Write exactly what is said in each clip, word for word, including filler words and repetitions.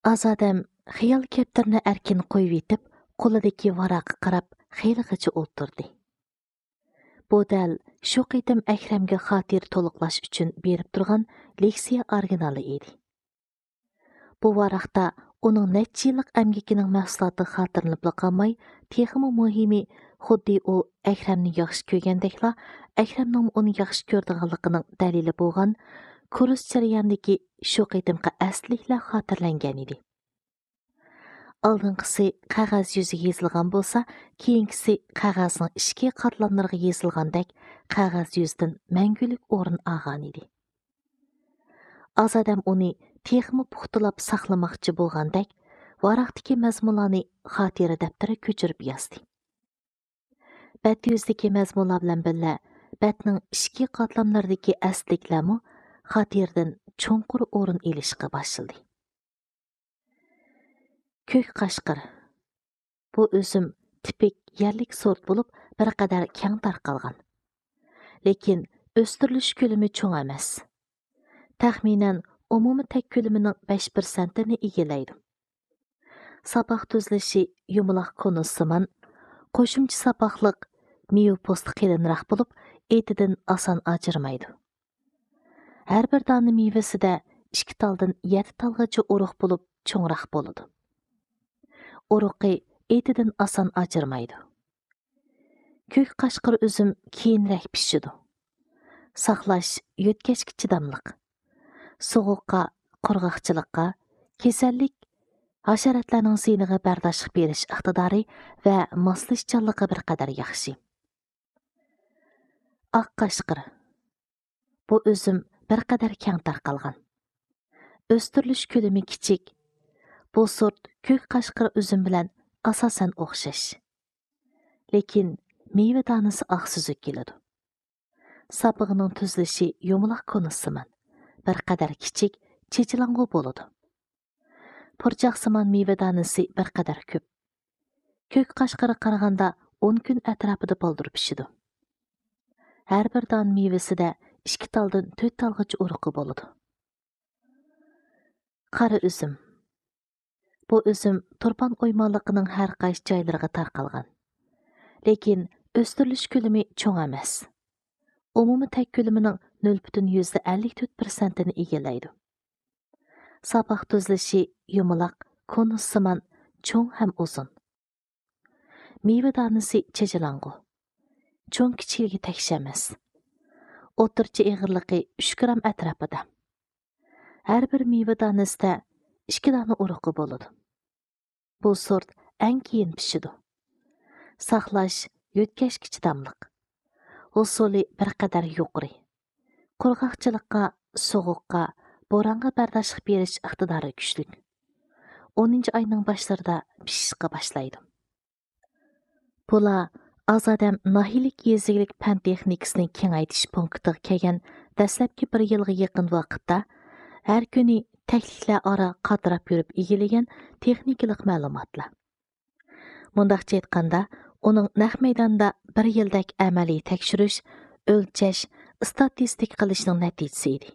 ئازادەم خىيال كەپتىرىنى ئەركىن قويۇۋېتىپ، قولىدىكى ۋاراققا قاراپ خېلىغىچە ئولتۇردى. بۇ دەل شۇ قېتىم ئەكرەمگە خاتىرە تولۇقلاش ئۈچۈن بېرىپ تۇرغان لېكسىيە ئورىگىنالى ئىدى. بۇ ۋاراقتا ئۇنىڭ نەچچە يىللىق ئەمگىكىنىڭ مەھسۇلاتى خاتىرىلىنىپلا قالماي، تېخىمۇ مۇھىمى، خۇددى ئۇ ئەكرەمنى ياخشى كۆرگەندەكلا، ئەكرەمنىڭمۇ ئۇنى ياخشى كۆرىدىغانلىقىنىڭ دەلىلى بولغان كۇرس جەريانىدىكى شۇ قېتىمقى ئەستىلىكلەر خاتىرىلەنگەن ئىدى. ئالدىنقىسى قەغەز يۈزىگە يېزىلغان بولسا، كېيىنكىسى قەغەزنىڭ ئىچكى قاتلاملىرىغا يېزىلغاندەك قەغەز يۈزىدىن مەڭگۈلۈك ئورۇن ئالغانىدى. ئازادەم ئۇنى تېخىمۇ پۇختىلاپ ساقلىماقچى بولغاندەك، ۋاراقتىكى مەزمۇنلارنى خاتىرە دەپتىرىگە كۆچۈرۈپ يازدى. بەت يۈزىدىكى مەزمۇنلار بىلەن بىللە، بەتنىڭ ئىچكى قاتلاملىرىدىكى ئەستىلىكلەرمۇ خاتىرىدىن چوڭقۇر ئورۇن ئېلىشقا باشلىدى. كۆك قاشقىر. بۇ ئۈزۈم تىپىك يەرلىك سورت بولۇپ، بىر قەدەر كەڭ تارقالغان. لېكىن ئۆستۈرۈلۈش كۆلىمى چوڭ ئەمەس. تەخمىنەن ئومۇمىي تەك كۆلىمىنىڭ بەش پىرسەنتىنى ئىگىلەيدۇ. ساپاق تۈزۈلۈشى يۇمىلاق كونۇسسىمان، قوشۇمچە ساپاقلىق، مېۋە پوستى قېلىنراق بولۇپ، ئېتىدىن ئاسان ئاجرىمايدۇ. ھەر بىر دانە مېۋىسىدە ئىككى تالدىن يەتتە تالغىچە ئۇرۇق بولۇپ، چوڭراق بولىدۇ. ئۇرۇقى ئېتىدىن ئاسان ئاجرىمايدۇ. كۆك قاشقىر ئۈزۈم كېيىنرەك پىشىدۇ. ساقلاش يۆتكەشكە چىداملىق. سوغۇققا، قۇرغاقچىلىققا، كېسەللىك، ھاشاراتلارنىڭ زىيىنىغا بەرداشلىق بېرىش ئىقتىدارى ۋە ماسلىشىشچانلىقى بىر قەدەر ياخشى. ئاق قاشقىر. بۇ ئۈزۈم بىر قەدەر كەڭ تارقالغان. ئۆستۈرۈلۈش كۆلىمى كىچىك. بۇ سورت كۆك قاشقىر ئۈزۈم بىلەن ئاساسەن ئوخشاش. لېكىن مېۋە دانىسى ئاق سۈزۈك كېلىدۇ. ساپىقىنىڭ تۈزۈلۈشى يۇمىلاق كونىسىمان، بىر قەدەر كىچىك، چېچىلاڭغۇ بولىدۇ. پۇرچاقسىمان مېۋە دانىسى بىر قەدەر كۆپ. كۆك قاشقىرغا قارىغاندا ئون كۈن ئەتراپىدا بالدۇر پىشىدۇ. ھەر بىر دانە مېۋىسىدە ئىككى تالدىن تۆت تالغىچە ئۇرۇقى بولىدۇ. قارا ئۈزۈم. بۇ ئۈزۈم تۇرپان ئويمانلىقىنىڭ ھەر قايسى جايلىرىغا تارقالغان. لېكىن ئۆستۈرۈلۈش كۆلىمى چوڭ ئەمەس. ئومۇمىي تەك كۆلىمىنىڭ نۆل پۈتۈن يۈزدە ئەللىك تۆت پىرسەنتىنى ئىگىلەيدۇ. ساپاق تۈزۈلۈشى يۇمىلاق، كونۇسسىمان، چوڭ ھەم ئۇزۇن. مېۋە دانىسى چېچىلاڭغۇ. چوڭ كىچىكلىكى تەكشى ئەمەس. ئوتتۇرىچە ئېغىرلىقى ئۈچ گرام ئەتراپىدا. ھەر بىر مېۋە دانىسىدە ئىككى دانە ئۇرۇقى بولىدۇ. بۇ سورت ئەڭ كېيىن پىشىدۇ. ساقلاش يۆتكەشكە چىداملىق. ھوسۇلى بىر قەدەر يۇقىرى. قۇرغاقچىلىققا، سوغۇققا، بورانغا بەرداشلىق بېرىش ئىقتىدارى كۈچلۈك. ئونىنچى ئاينىڭ باشلىرىدا پىشىشقا باشلايدۇ. بۇلار ئازادەم ناھىيەلىك يېزا ئىگىلىك پەن تېخنىكىسىنى كېڭەيتىش پونكىتىغا كەلگەن دەسلەپكى بىر يىلغا يېقىن ۋاقىتتا ھەر كۈنى تەكلىكلەر ئارا قاتراپ يۈرۈپ ئىگىلىگەن تېخنىكىلىق مەلۇماتلار. مۇنداقچە ئېيتقاندا، ئۇنىڭ نەق مەيداندا بىر يىلدەك ئەمەلىي تەكشۈرۈش، ئۆلچەش، ئىستاتىستىكا قىلىشنىڭ نەتىجىسى ئىدى.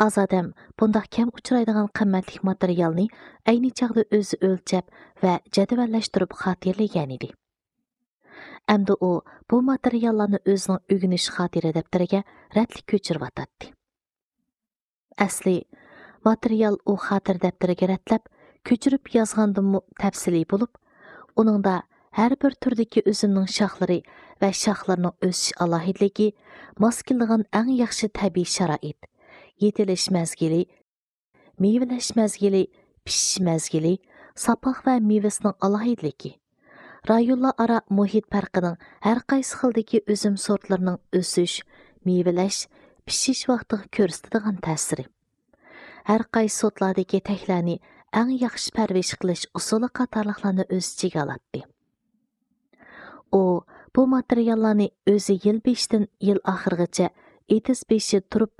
ئازادەم بۇنداق كەم ئۇچرايدىغان قىممەتلىك ماتېرىيالنى ئەينى چاغدا ئۆزى ئۆلچەپ ۋە جەدۋەللەشتۈرۈپ خاتىرىلىگەنىدى. ئەمدى ئۇ بۇ ماتېرىياللارنى ئۆزىنىڭ ئۆگىنىش خاتىرە دەپتىرىگە رەتلىك كۆچۈرۈۋاتاتتى. ئەسلى، ماتېرىيال ئۇ خاتىرە دەپتىرىگە رەتلەپ، كۆچۈرۈپ يازغاندىنمۇ تەپسىلىي بولۇپ، ئۇنىڭدا ھەر بىر تۈردىكى ئۈزۈمنىڭ شاخلىرى ۋە شاخلىرىنىڭ ئۆسۈش ئالاھىدىلىكى، ماس كېلىدىغان ئەڭ ياخشى تەبىئىي شارائىت، يېتىلىش مەزگىلى، مېۋىلەش مەزگىلى، پىشىش مەزگىلى، ساپاق ۋە مېۋىسىنىڭ ئالاھىدىلىكى، رايونلار ئارا مۇھىت پەرقىنىڭ ھەر قايسى خىلدىكى ئۈزۈم سورتلىرىنىڭ ئۆسۈش، مېۋىلەش، پىشىش ۋاقتىغا كۆرسىتىدىغان تەسىرى، ھەر قايسى سورتلاردىكى تەكلەرنى ئەڭ ياخشى پەرۋىش قىلىش ئۇسۇلى قاتارلىقلارنى ئۆز ئىچىگە ئالاتتى. ئۇ بۇ ماتېرىياللارنى ئۆزى يىل بېشىدىن يىل ئاخىرىغىچە ئېتىز بېشىدا تۇرۇپ،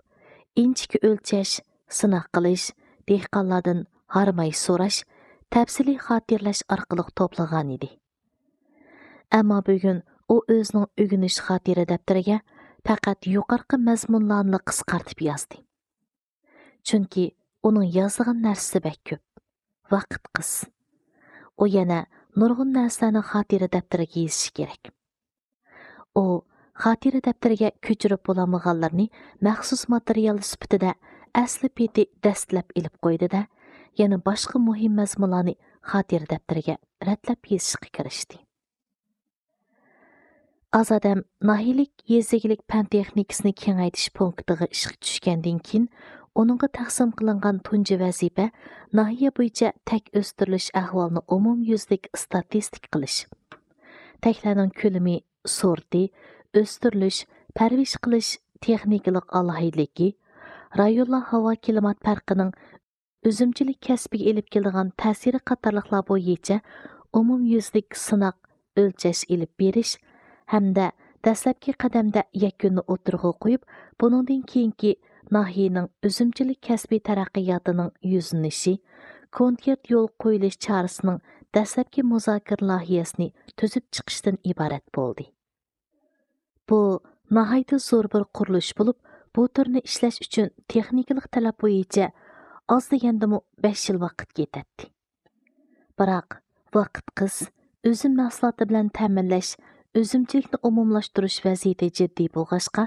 ئىنچىكە ئۆلچەش، سىناق قىلىش، دېھقانلاردىن ھارماي سوراش، تەپسىلىي خاتىرىلەش ئارقىلىق توپلىغانىدى. ئەمما بۈگۈن ئۇ ئۆزىنىڭ ئۆگىنىش خاتىرە دەپتىرىگە پەقەت يۇقىرىقى مەزمۇنلارنىلا قىسقارتىپ يازدى. چۈنكى ئۇنىڭ يازىدىغان نەرسىسى بەك كۆپ. ۋاقىت قىس. ئۇ يەنە نۇرغۇن نەرسىلەرنى خاتىرە دەپتىرىگە يېزىشى كېرەك. ئۇ خاتىرە دەپتىرىگە كۆچۈرۈپ بولالمىغانلىرىنى مەخسۇس ماتېرىيال سۈپىتىدە ئەسلى پېتى دەستىلەپ ئېلىپ قويدى-دە، يەنە باشقا مۇھىم مەزمۇنلارنى خاتىرە دەپتىرىگە رەتلەپ يېزىشقا كىرىشتى. ئازادەم ناھىيەلىك يېزا ئىگىلىك پەن تېخنىكىسىنى كېڭەيتىش پونكىتىغا ئىشقا چۈشكەندىن كېيىن، ئۇنىڭغا تەقسىم قىلىنغان تۇنجى ۋەزىپە ناھىيە بويىچە تەك ئۆستۈرۈلۈش ئەھۋالىنى ئومۇميۈزلۈك ئىستاتىستىكا قىلىش. تەكلەرنىڭ كۆلىمى، سورتى، ئۆستۈرۈلۈش، پەرۋىش قىلىش تېخنىكىلىق ئالاھىدىلىكى، رايونلار ھاۋا كىلىمات پەرقىنىڭ ئۈزۈمچىلىك كەسپىگە ئېلىپ كېلىدىغان تەسىرى قاتارلىقلار بويىچە ئومۇميۈزلۈك سىناق، ئۆلچەش ئېلىپ بېرىش ھەمدە دەسلەپكى قەدەمدە يەكۈننى ئوتتۇرىغا قويۇپ، بۇنىڭدىن كېيىنكى ناھىيەنىڭ ئۈزۈمچىلىك كەسپىي تەرەققىياتىنىڭ يۈزلىنىشى، كونكرېت يول قويۇلۇش چارىسىنىڭ دەسلەپكى مۇزاكىرە لايىھەسىنى تۈزۈپ چىقىشتىن ئىبارەت بولدى. بۇ ناھايىتى زور بىر قۇرۇلۇش بولۇپ، بۇ تۈرنى ئىشلەش ئۈچۈن تېخنىكىلىق تەلەپ بويىچە ئاز دېگەندىمۇ بەش يىل ۋاقىت كېتەتتى. بىراق، ۋاقىت قىس، ئۈزۈم مەھسۇلاتى بىلەن تەمىنلەش، ئۈزۈمچىلىكنى ئومۇملاشتۇرۇش ۋەزىيىتى جىددىي بولغاچقا،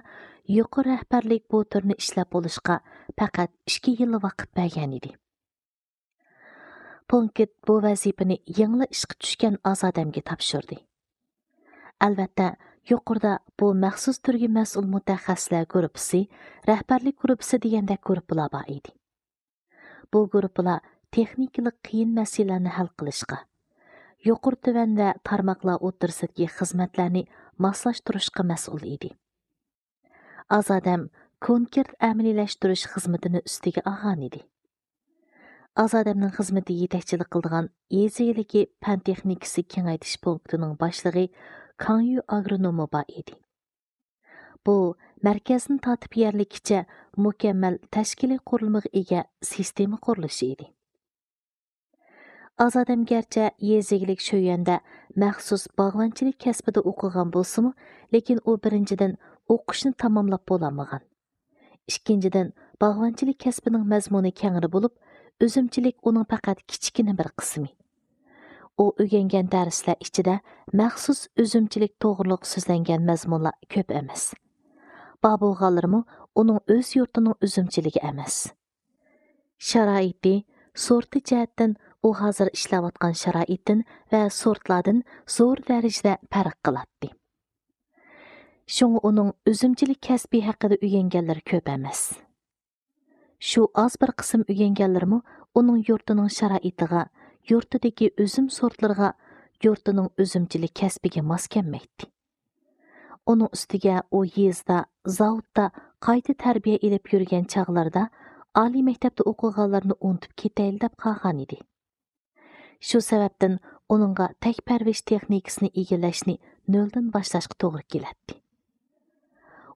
يۇقىرى رەھبەرلىك بۇ تۈرنى ئىشلەپ بولۇشقا پەقەت ئىككى يىللا ۋاقىت بەرگەنىدى. پونكىت بۇ ۋەزىپىنى يېڭىلا ئىشقا چۈشكەن ئازادەمگە تاپشۇردى. ئەلۋەتتە، يۇقىرىدا بۇ مەخسۇس تۈرگە مەسئۇل مۇتەخەسسىسلەر گۇرۇپپىسى، رەھبەرلىك گۇرۇپپىسى دېگەندەك گۇرۇپپىلار بار ئىدى. بۇ گۇرۇپپىلار تېخنىكىلىق قىيىن مەسىلىلەرنى ھەل قىلىشقا، يۇقىرى تۆۋەن ۋە تارماقلار ئوتتۇرىسىدىكى خىزمەتلەرنى ماسلاشتۇرۇشقا مەسئۇل ئىدى. ئازادەم كونكرېت ئەمەلىيلەشتۈرۈش خىزمىتىنى ئۈستىگە ئالغانىدى. ئازادەمنىڭ خىزمىتىگە يېتەكچىلىك قىلىدىغان يېزا ئىگىلىكى پەن تېخنىكىسى كېڭەيتىش پونكىتىنىڭ باشلىقى كاڭيۈ ئاگرونومى بار ئىدى. بۇ مەركەزدىن تارتىپ يەرلىككىچە مۇكەممەل تەشكىلىي قۇرۇلمىغا ئىگە سىستېما قۇرۇلۇشى ئىدى. ئازادەم گەرچە يېزا ئىگىلىك شۆيۈەندە مەخسۇس باغۋەنچىلىك كەسپىدە ئوقۇغان بولسىمۇ، لېكىن ئۇ بىرىنچىدىن ئوقۇشنى تاماملاپ بولالمىغان. ئىككىنچىدىن، باغۋەنچىلىك كەسپىنىڭ مەزمۇنى كەڭرى بولۇپ، ئۈزۈمچىلىك ئۇنىڭ پەقەت كىچىككىنە بىر قىسمى. ئۇ ئۆگەنگەن دەرسلەر ئىچىدە مەخسۇس ئۈزۈمچىلىك توغرۇلۇق سۆزلەنگەن مەزمۇنلار كۆپ ئەمەس. بار بولغانلىرىمۇ ئۇنىڭ ئۆز يۇرتىنىڭ ئۈزۈمچىلىكى ئەمەس. شارائىتى، سورتى جەھەتتىن ئۇ ھازىر ئىشلەۋاتقان شارائىتتىن ۋە سورتلاردىن زور دەرىجىدە پەرق قىلاتتى. شۇڭا ئۇنىڭ ئۈزۈمچىلىك كەسپى ھەققىدە ئۆگەنگەنلىرى كۆپ ئەمەس. شۇ ئاز بىر قىسىم ئۆگەنگەنلىرىمۇ ئۇنىڭ يۇرتىنىڭ شارائىتىغا، يۇرتىدىكى ئۈزۈم سورتلىرىغا، يۇرتىنىڭ ئۈزۈمچىلىك كەسپىگە ماس كەلمەيتتى. ئۇنىڭ ئۈستىگە ئۇ يېزىدا، زاۋۇتتا قايتا تەربىيە ئېلىپ يۈرگەن چاغلىرىدا ئالىي مەكتەپتە ئوقۇغانلىرىنى ئۇنتۇپ كېتەيلى دەپ قالغانىدى. شۇ سەۋەبتىن ئۇنىڭغا تەك پەرۋىش تېخنىكىسىنى ئىگىلەشنى نۆلدىن باشلاشقا توغرا كېلەتتى.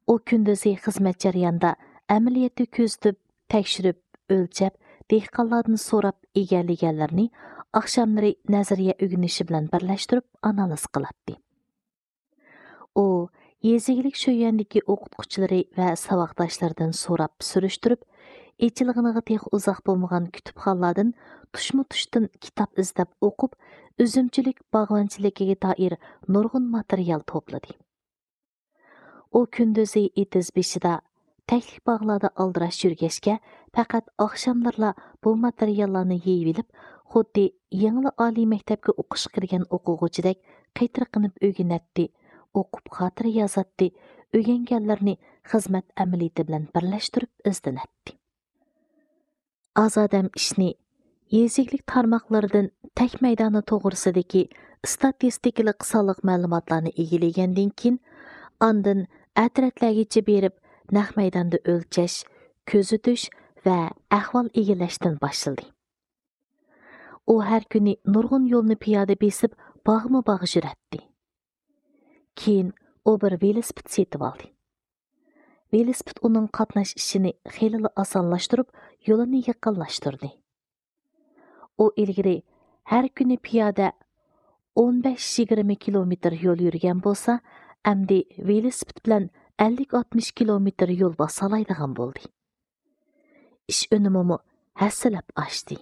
ئۇ كۈندۈزى خىزمەت جەريانىدا ئەمەلىيەتتە كۆزىتىپ، تەكشۈرۈپ، ئۆلچەپ، دېھقانلاردىن سوراپ ئىگىلىگەنلىرىنى ئاخشاملىرى نەزەرىيە ئۆگىنىشى بىلەن بىرلەشتۈرۈپ ئانالىز قىلاتتى. ئۇ يېزا ئىگىلىك شۆيۈەندىكى ئوقۇتقۇچىلىرى ۋە ساۋاقداشلىرىدىن سوراپ سۈرۈشتۈرۈپ، ئېچىلغىنىغا تېخى ئۇزاق بولمىغان كۇتۇپخانىلاردىن تۇشمۇ تۇشتىن كىتاب ئىزدەپ ئوقۇپ، ئۈزۈمچىلىك باغۋەنچىلىكىگە دائىر نۇرغۇن ماتېرىيال توپلىدى. ئۇ كۈندۈزى ئېتىز بېشىدا، تەكلىك باغلاردا ئالدىراش يۈرگەچكە، پەقەت ئاخشاملىرىلا بۇ ماتېرىياللارنى يىيىۋېلىپ، خۇددى يېڭىلا ئالىي مەكتەپكە ئوقۇشقا كىرگەن ئوقۇغۇچىدەك قېتىرقىنىپ ئۆگىنەتتى، ئوقۇپ خاتىرە يازاتتى، ئۆگەنگەنلىرىنى خىزمەت ئەمەلىيىتى بىلەن بىرلەشتۈرۈپ ئىزدىنەتتى. ئازادەم ئىشنى يېزا ئىگىلىك تارماقلىرىدىن تەك مەيدانى توغرىسىدىكى ئىستاتىستىكىلىق سانلىق مەلۇماتلارنى ئىگىلىگەندىن كېيىن، ئاندىن ئەترەتلەرگىچە بېرىپ، نەق مەيداندا ئۆلچەش، كۆزىتىش ۋە ئەھۋال ئىگىلەشتىن باشلىدى. ئۇ ھەر كۈنى نۇرغۇن يولنى پىيادە بېسىپ، باغمۇ باغ يۈرەتتى. كېيىن ئۇ بىر ۋېلىسىپىت سېتىۋالدى. ۋېلىسىپىت ئۇنىڭ قاتناش ئىشىنى خېلىلا ئاسانلاشتۇرۇپ، يولىنى يېقىنلاشتۇردى. ئۇ ئىلگىرى ھەر كۈنى پىيادە ئون بەش يىگىرمە كىلومېتىر يول يۈرگەن بولسا، ئەمدى ۋېلىسىپىت بىلەن ئەللىك ئاتمىش كىلومېتىر يول باسالايدىغان بولدى. ئىش ئۈنۈمىمۇ ھەسسىلەپ ئاچتى.